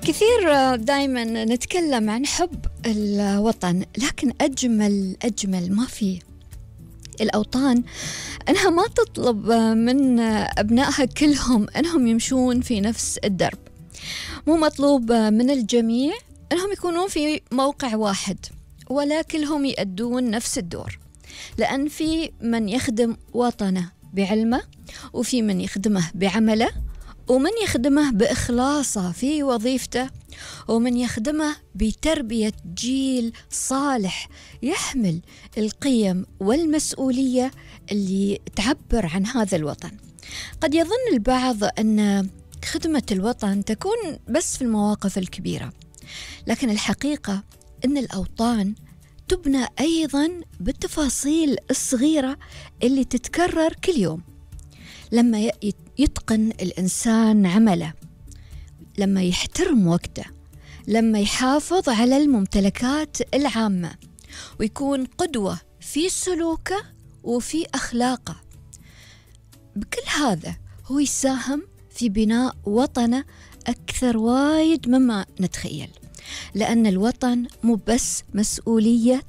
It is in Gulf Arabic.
كثير دائما نتكلم عن حب الوطن، لكن أجمل ما فيه الأوطان أنها ما تطلب من أبنائها كلهم أنهم يمشون في نفس الدرب. مو مطلوب من الجميع أنهم يكونون في موقع واحد ولا كلهم يؤدون نفس الدور، لأن في من يخدم وطنه بعلمه، وفي من يخدمه بعمله، ومن يخدمه بإخلاصه في وظيفته، ومن يخدمه بتربية جيل صالح يحمل القيم والمسؤولية اللي تعبر عن هذا الوطن. قد يظن البعض أن خدمة الوطن تكون بس في المواقف الكبيرة، لكن الحقيقة أن الأوطان تبنى أيضا بالتفاصيل الصغيرة اللي تتكرر كل يوم. لما يتقن الإنسان عمله، لما يحترم وقته، لما يحافظ على الممتلكات العامة، ويكون قدوة في سلوكه وفي أخلاقه، بكل هذا هو يساهم في بناء وطنه أكثر وايد مما نتخيل. لأن الوطن مو بس مسؤولية